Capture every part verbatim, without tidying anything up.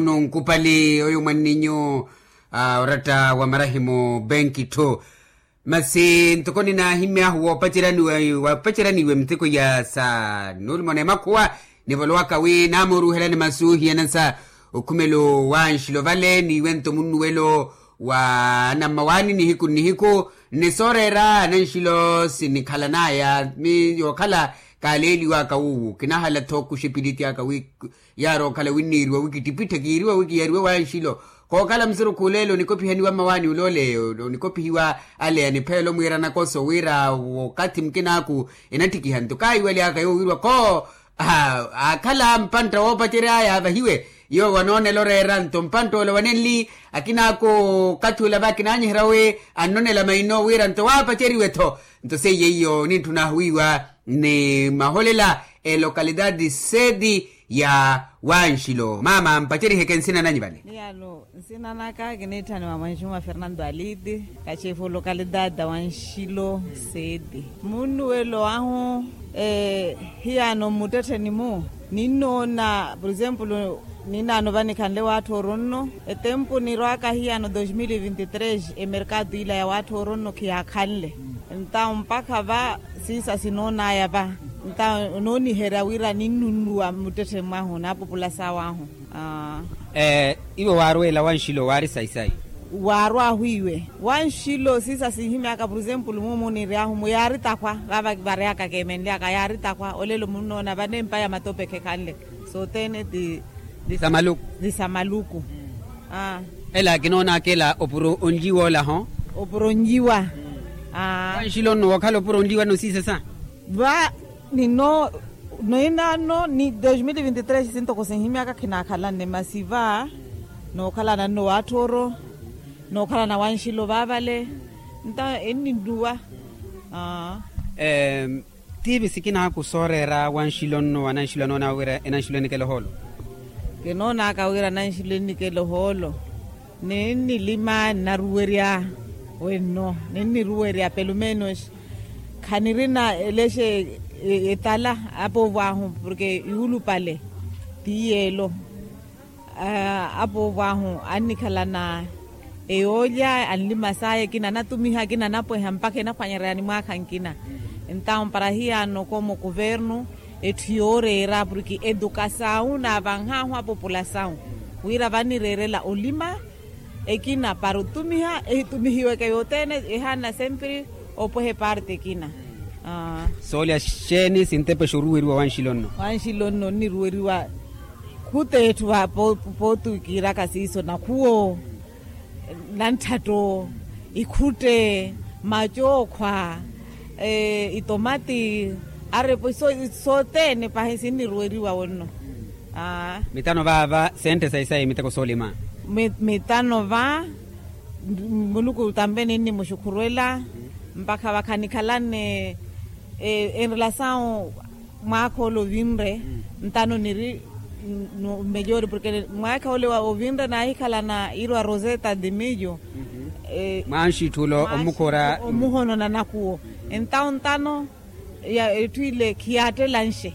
Nunkupali oyo mwanninyu oratta wa marahimu benki tho. Masi ntoko ninaahimyahu woopaceraniwa woopaceraniwa emitheko ya sa nuulumona emakhuwa, nivolowaka wi naamooruhelani masi oohiyana sa okhumelo wa nxilo vale niiwento munnuwelo wa anammawaani nihiku nnihiku. Ni sooreera nanxilo sinikhalanaya mi yookhala kaaleeliwaka wuuwu kinahala-tho kuxipiliti aka wi yaari okhala winniiriwa wi kittipitthe kiiriwa wi kiyariwe wa nxilo. Kookhala musurukhu oleelo onikopihaniwa mmawaani ole ole onikopihiwa ale anipheela omwiira nakoso wira wookathi mukinaaku enattikiha nto kaahiwaly'aka yoowiriwa kho. Aakhala mpantta woopacery'aya avahiwe yowo anoonela oreera nto mpantta ole wanenli akinaako okathi ole va kinaanyiherya wi annonela maino wira nto waapaceriwe-tho. Nto seiye iyo nintthuna ahuwiiwa ni maholela elokalidadi seti ya wanxilo maama mpaceriheke nsina nanyu vale. Nsina naka kiniitthaniwa mwanxuma fernando aliti kachefu lokalidadi ya wanxilo. Seti munnuwelo ahu hiyano mmuttettheni-mu ninnoona por exemplo ninaano vanikhanle waatthooru nno etempu nirwaka hiyano dos mil vinti tres emerkado ila ya waatthooru nno khiyaakhanle. Ntawo mpakha va siisa sinoonaya va ntawo nooniherya wira ninnunnuwa mmuttetthe mwahu naapupula sawahu. Iwe waarweela wanxilo waari sayi-sayi waarwahu iwe wanxilo siisa sinhimyaka por exemplo mumu niry'ahu muyaari takhwa vava vary'aka keemenly'aka yaari takhwa olelo munnoona vanempa ya matope khekhanle. Sothene ti ti sa maluku. Ela kinoonaka ela opuro onlyiwa ola ho. Opuro onlyiwa. Wanxilo nno wookhala opuro onlyiwa nno siisesa va nino noinano ni dos mil vinti tres sintoko sinhimyaka khinaakhalanne masi va nookhalana nno waatthoro nookhalana wanxilo vaavale nta enninnuwa. Tiivi sikinaaku sooreera wanxilo nno wa nanxilo anoonaka wira enanxilo enikela ohoolo. Kinoonaka wira nanxilo enikela ohoolo ninnilima nnaruwerya wenno ninniruwerya pelumenus khanirina elexe etala apoovo ahu porke yuulupale ti yeelo. Apoovo ahu annikhalana eyoolya anlima saya ekina anatumiha ekina anapweha mpakha enaphwanyerya ni mwaakha nkina. Entawo para hiyano komo kuvernu etthu yooreera porke edukasawu naavanhahu apopulasawu wira vanireerela olima ekina para otumiha ehitumihiweke yothene ehaana sempre opweha eparte ekina. Soolya xeeni sintepexa oruweriwa wanxilo nno. Wanxilo nno onniruweriwa khuta etthu pootu kiiraka siiso nakhuwo nantthatto ikhutte macookhwa itomati arepo iso sothene pahi sinniruweriwa wonno. Mitano vaava sentte sayi sayi miteko soolima mitano va muluku tampe ninnimuxukhurwela mpakha vakhanikhalanne enrelasawu mwaakha ole ovinre ntano niri mmejori porke mwaakha ole ovinre naahikhalana iirwa roseta de millo mwaanxitthula omukhora omuhonona nakuwo entawo ntano ya etthu ile khiyaattela nxe.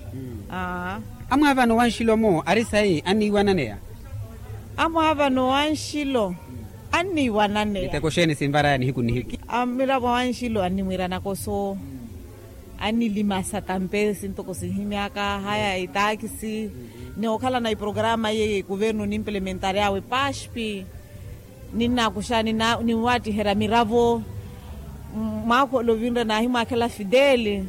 Amwaavano wanxilo-mo ari sayi anniiwananeya amwaavano wanxilo anniiwananeya miteko xeeni sinvaraya nihiku nihiku. Miravo wanxilo annimwiira nakoso annilima satampe sintoko sinhimyaka haya itaakisi nookhalana iprograma iye kuvernu nimplementary'awe paspi ninnakuxa ninwaattiherya miravo mwaakha ole ovinre naahimwaakhela fideli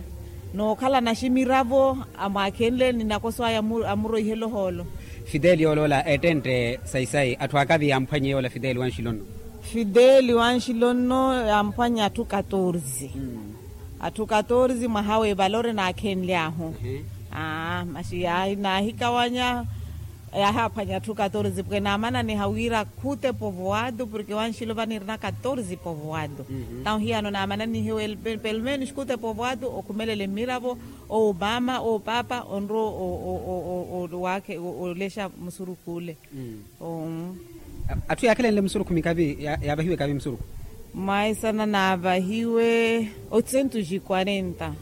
nookhalana ximiravo amwaakhenle ninakoso aya amuroihela ohoolo. Fideli yooloola ettentte sayi sayi atthu akavi yamphwanye yoola fideli wanxilo nno. Fideli wanxilo nno yamphwanya atthu katorze atthu katorze mwaha w'evalore naakhenly'ahu. Masi naahikawanya yaahaphwanya atthu katorze porke naamananiha wira khuta epovoado porke wanxilo vanirina katorze epovoado. Ntawo hiyano naamananihiwe pelumenus khuta epovoado okhumelele mmiravo oopama oopapa onrowa waakhe olexa musurukhu ole. Atthu yaakhelenle musurukhu mikavi yaavahiwe kavi musurukhu. Mwaisana naavahiwe otsento xi quarenta.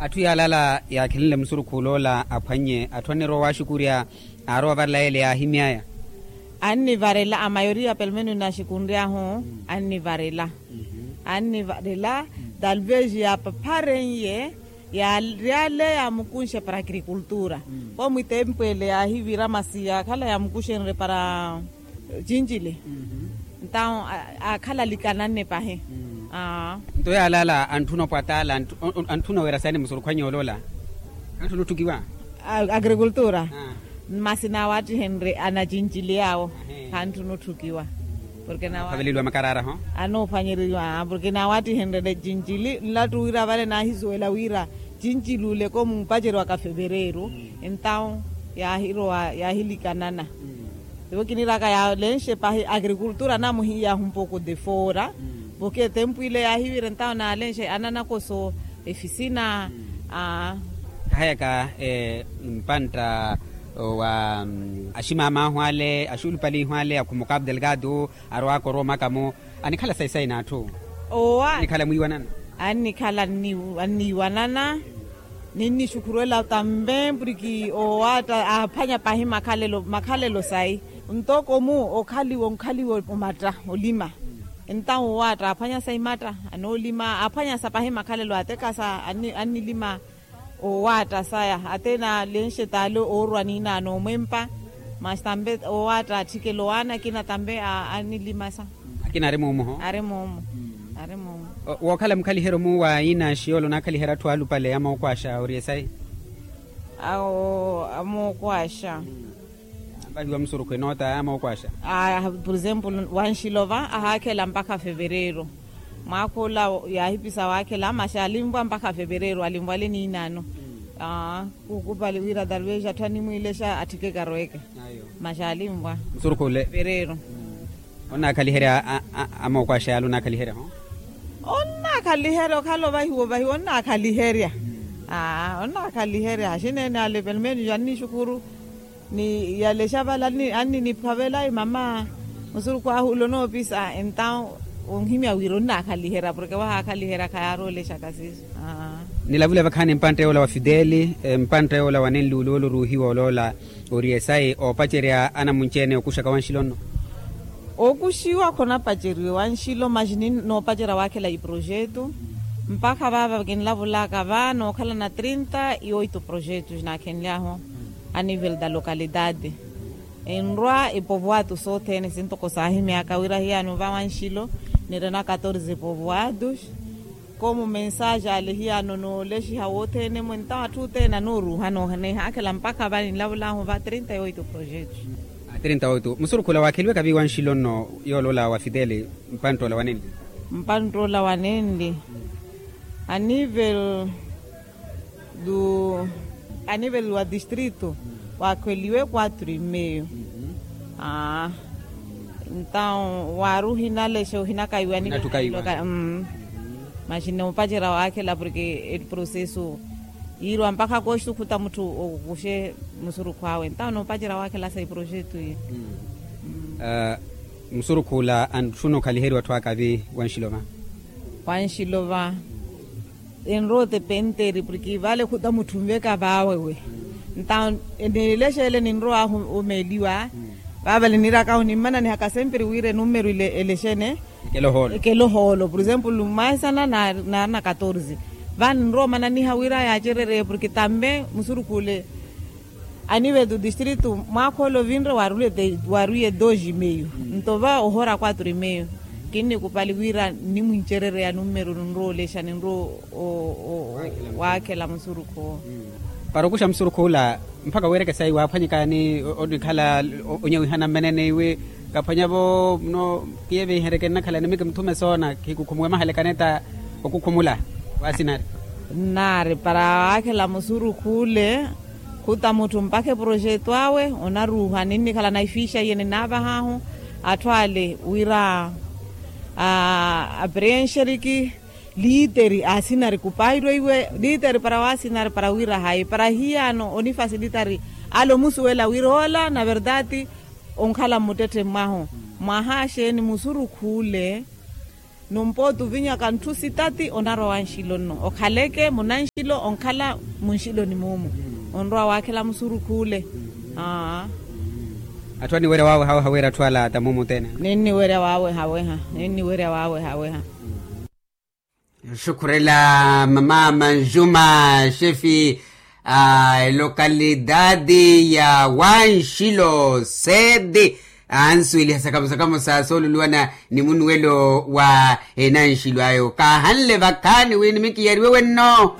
Atthu yaalala yaakhelenle musurukhu oloola aphwannye atthu annirowa waaxukurya aarowa ovarela yeele yaahimy'aya. Annivarela amayoriya pelomenu naxikunry'ahu, annivarela annivarela. Talvez yaapapharen'ye yary'ale yaamukunxe para agrikultura. Komu itempu ele yaahivira masi yaakhala yaamukuxenrye para cincili. Entawu aakhala alikananne pahi. Nto yaalaala antthuna opwataala antthuna wira saani musurukhwanya oloola. Antthuna otthukiwa agrikultura. Masi naawattihenrye anacincili awo. Khantthuna otthukiwa. Porke nawa aveleliwa makaraaraho. Anoophwanyeriwa porke naawattihenrye cincili nlattu wira vale naahisuwela wira cincili ule komu opaceriwaka fevereru. Entawu yaahirowa yaahilikanana. Ivo kiniraka yaalenxe pahi agrikultura namuhiyahu mpoko defora. Porke tempu ile yaahivira entawu naalenxe ananakoso efisina. Kahayaka mpantta wa aximamaahu ale axulupalihu ale akhumuka abdelgado arowaka oromaka-mo. Anikhala sayi sayi n'atthu owa anikhala mwiiwanana. Annikhala anniiwanana ninnixukhurwela tambe puriki owaatta aaphwanya pahi makhalelo sayi. Ntoko-mu okhaliwa onkhaliwa omatta olima. Entawu owaatta aaphwanya sayi matta anoolima aaphwanya sa pahi makhalelo atekasa annilima. Owaatta saya ate naalenxe t'ale oorwa niinaano omwempa. Masi tambe owaatta atthikela owaana akina tambe annilimasa. Akina ari muumu ho. Ari muumu. Ari muumu. Wookhala mukhaliheryo-mu wa inaxi yoole onaakhaliherya atthu aalupale amookwaaxa oriye sayi. Amookwaaxa. Vahiwa musurukhu enoota amookwaaxa. Por exemplo wanxilova ahaakhela mpakha fevereru. Mwaakha ola yaahipisa waakhela masi alinvwa mpakha fevereru alinvwale niinaano. Kuukupali wira talvez atthu animwiilexa atthike karoweke. Masi alinvwa musurukhu ule fevereru. Onnaakhaliherya amookwaaxa yaale onnaakhaliherya ho. Onnaakhaliherya okhala ovahiwa ovahiwa onnaakhaliherya. Onnaakhaliherya haxineene ale pelomenos annixukhuru. Ni yalexa vale anniniphavela mama musurukhu ahu ule onoopisa entawu onhimya wira onnaakhaliherya porke wahaakhaliherya khayaaroolexaka siiso. Nilavule vakhaani mpantta yoola wa fideli mpantta yoola wa nenli ule ole oruuhiwa oloola. Oriye sayi oopacerya anamunci-ene okuxaka wanxilo nno. Okuxiwa khonapaceriwe wanxilo maxi ni noopacerya waakhela iprojetu. Mpakha vaava kinlavulaka va nookhalana trinta e oito projetu naakhenlyahu. A nivel da lokalidade enrwa epovoatu sothene sintoko saahimyaka wira hiyaano va wanxilo. Nirina catorze povoatus. Komu mensaje ale hiyaano noolexiha wothene-mu entawo atthu othene anooruuha noohaakhela mpakha va ninlavulahu va trinta e oito projetu. Trinta e oito musurukhu ola waakheliweka vi wanxilo nno yooloola wa fideli. Mpantta ola wa nenli. Mpantta ola wa nenli anivel du anivel wa distrito. Waakheliwe quatro e meio. Aa entawo waari ohinalexa ohinakaiwa ni. Masi noopacerya waakhela porke eprocesso yiiriwa mpakha kooxi khuta mutthu okuxe musurukhu awe entawo noopacerya waakhela sa eprojeto iyo. Musurukhu ola antthuna okhaliheriwa atthu akavi wanxilova. Wanxilova enrowa otepenteri porke vale khuta mutthu onveka vaawewe. Nta nilexa ele ninrowaahu omeeliwa. Vaavale niirakahu nimmananihaka sempre wira enummeru ile elexene ekela ohoolo por exemplo mwaesana naarina catorze. Vale ninrowa omananiha wira yaacerereye porke tambe musurukhu ole anivel do distrito mwaakha ole ovinre waaruye dos e meio. Nto va ohora quatro e meio kinnikupali wira nnimwincerereya nummeru ninrowa olexa ninrowa waakhela musurukhu owo. Para okuxa musurukhu ola mpakha wiireke sayi waaphwanyekani onikhala onyawihana mmenene iwe kaphwanya-vo muno kiyevihereke nnakhala nimiki muthume soona khikukhumuwe mahalekane ta okukhumula. Waasinari nnaari para waakhela musurukhu ole khuta mutthu mpakha eprojeto awe onaruuha ninnikhala na ifiixa iye ninaavahaahu atthu ale wira apreenxeriki liiteri asinari kupairwa iwe liiteri para waasinari para wira hayi para hiyaano onifasilitari ale omusuwela wira ola na verdade onkhala mmuttetthe mwahu. Mwaha axeeni musurukhu ole numpooti ovinyaka ntthu sitati onarwa wanxilo nno okhaleke munanxilo onkhala munxiloni muumu onrowa waakhela musurukhu ole. Atthu aniwerya wawehaweha wira atthu ala atamu mutene. Ninniwerya wawehaweha. Ninniwerya wawehaweha. Xukhurela mama manjuma xefi a lokalidadi ya wanxilo sede ansuweliha sakamusakamu sa sooluluwana ni munuwelo wa enanxilo ayo kaahanle vakhaani wi nimikiyariwe wenno.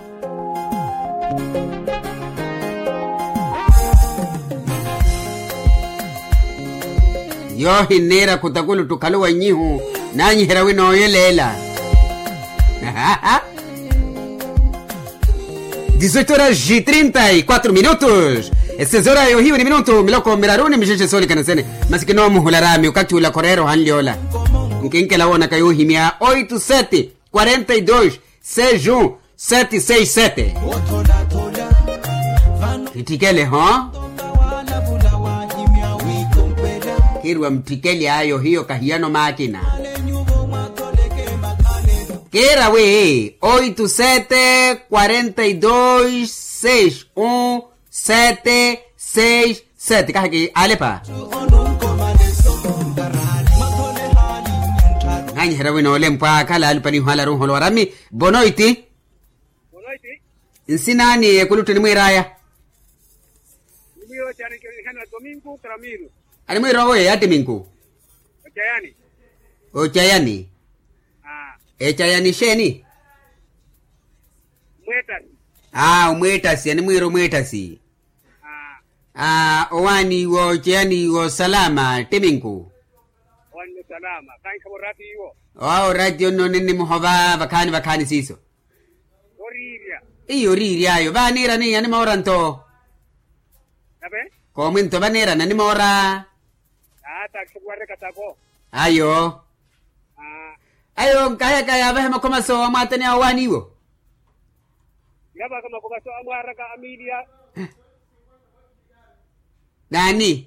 Yoohi nniira khutakulutthu khalowa nnyihu naanyiherya wi nooyeleela. Dizoito horas e trinta e quatro minutos. Esezora yohiwe ni minutu miloko miraru ni mixexe soolikana sene. Masi kinoomuhula rami okathi ula khoreera ohanly'ola. Nkinkela woonaka yoohimya oito sete quarenta e dois seis um sete seis sete. Kitthikele ho. Kiriwa mutthikeli ayo hiyo kahiyano maakina. Kiira wi oito sete quarenta e dois seis um sete seis sete kahaki alepa. Nanyiherya wina olempwa akhala alupaniho ala runholo warami. Bonoiti. Nsina ani ekuluttu enimwiiraya? Animwiira owe ya timinku. Ocayani. Ocayani. Ecayani xeeni? Aa omweettasi animwiira omweettasi. Aa owaani iwo ocayani iwo salama timinku. Owawo ratio nno ninnimuhova vakhaani vakhaani siiso. Iyo oriiryayo vaaniira niiya nimoora nto. Koomwinto vaniirana nimoora. Ayo. Ayo nkaheyaka yaavahe makhoma so amwaatani awo waaniiwo. Naani?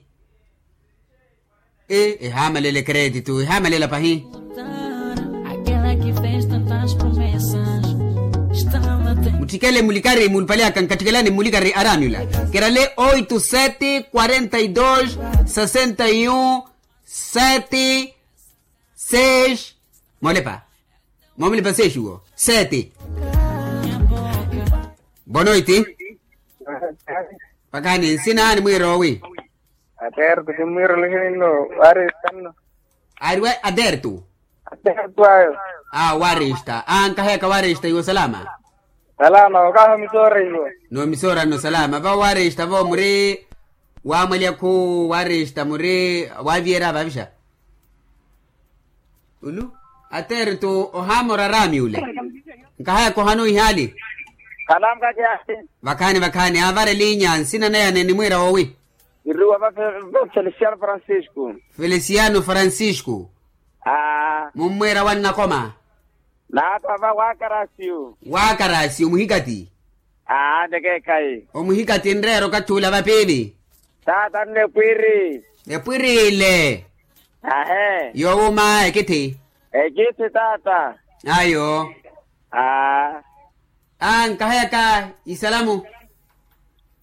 Ehaamalele kretitu ehaamalele pahi. Mutthikele mulikari muulupale aka nkattikelani mmulikari araami ula. Kerale oito sete quarenta e dois sessenta e um sete seis. Moolepa. Moomulipa seis wo sete. Bonoiti. Pakani nsina animwiira owi? Aterto kimwiira olihini nno. Wari tanno. Ariwe aterto. Aterto ayo. Aa warista aa nkaheyaka warista iwo salama. Salama okaho misoora iwo. Noo misoora nno salama vavo warista vavo muri. Waamwalya khu warista muri. Waaviyerya vavixa. Ulu aterto ohaamora araami ule. Nkahaya kohano ihaali. Khalamu kakiyaasi. Vakhaani vakhaani aavara eliinya nsina naya nenimwiira woowi? Iruwa va feliciano francisco. Feliciano francisco. Aa mummwiira wannakoma. Naatava wakarasiyu. Wakarasiyu muhikati. Aa nikeekhayi. Omuhikati nreera okathi ula vapiili. Taata nne epwiri. Epwiri ile. Ahe. Yowuma ekithi. Ekithi taata. Ayo. Aa. Aa nkaheyaka isalamu.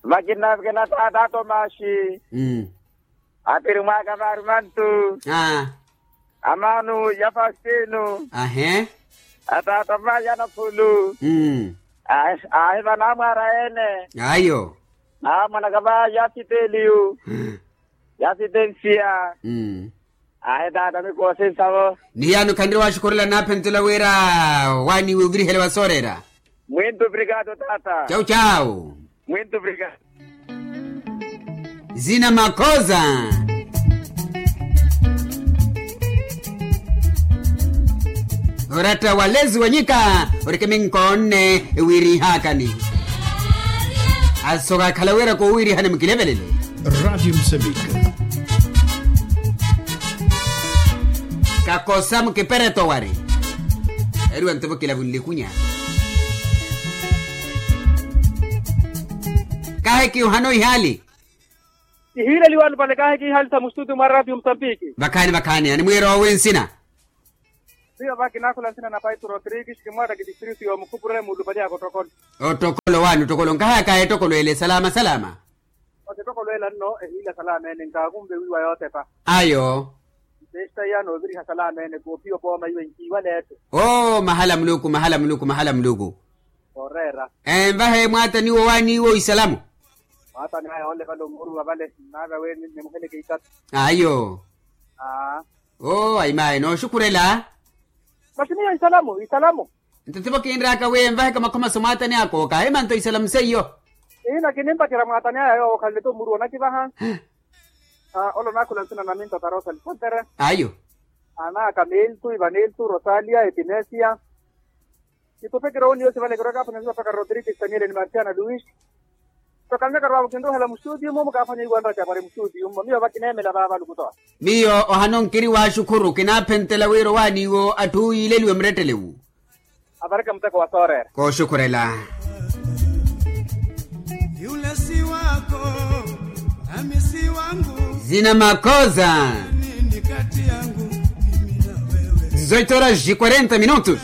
Vakina vakina taata tomaxi. Apirimwaaka vaari mantu. Amaanu ya faustino. Ahe. Ataata vaaya naphulu. Ahi vanaamwaara ene. Ayo. Naamwanaka vaaya siteliyu. Ya sitensiya. Ahi taata mikoosi nsavo. Ni yaani okhanre waxukhurela naaphentula wira waaniiwe ovirihele wa sooreera. Mwintu obrigado taata. Chau chau. Mwintu obrigado. Zina makhoza. Oratta walezi wanyika orikimi nkoonne. Ewiirihaakani. Asoka akhala wira kowiirihani mukilevelele. Ratio musambika. Kakosa mukipereto wari. Eriwa nto vokila vunlikunya. Kaahiki ohano ihaali. Ihiileliwani vale kaahiki ihaali sa mustuti mwa ratio musambiki. Vakhaani vakhaani animwiira owi nsina? Miyo va kinakhula nsina na paito rodrigues kimwatta kitistritu yomukhupure muulupale aka ottokolo. Ottokolo waani ottokolo nkahayaka ettokolo ele salama salama. Otepa kolweela nno ehiila salamene nkaakumve wiiwa yootepa. Ayo. Mpesta iya nooviriha salamene koophiya opooma iwe nkiiwaleeto. Oo mahala muluku mahala muluku mahala muluku. Ooreera. Envahe mwaataniwo waaniiwo isalamu. Mwaatani aya onle vale omuuruwa vale nnaaka wi nimuheleke ikatu. Ayo. Aa. Oo ayimaye nooxukhurela. Masi miyo isalamu isalamu. Nto tivo kinraaka wi envaheka makhomaso mwaatani aka okaahima nto isalamu seiyo. Ihina kinimpacerya mwaatani aya yoowo okhalele-tho muru onakivaha. Ole onaakhula nsina na minto tarosa lisotere. Ayo. Anaaka miltu ivaniltu rosalia epinesiya. Kitupekira oniyosi vale kirokaphana nsiva paka rodrigues taniele ni marciana luis. Tokanveka rwavo kinruhela mustutiyu mumu kaphana iwanra capari mustutiyu mmo miyo vakineemela vavalukutoa. Miyo ohano nkiri waaxukhuru kinaaphentela wira owaaniwo atthu yiileliwe murettelewu. Avareke muteko wa sooreera. Kooxukhurela. Yule si wako nami si wangu. Zina makoza. Nini kati yangu mimi na wewe? Zoito horas e quarenta minutos.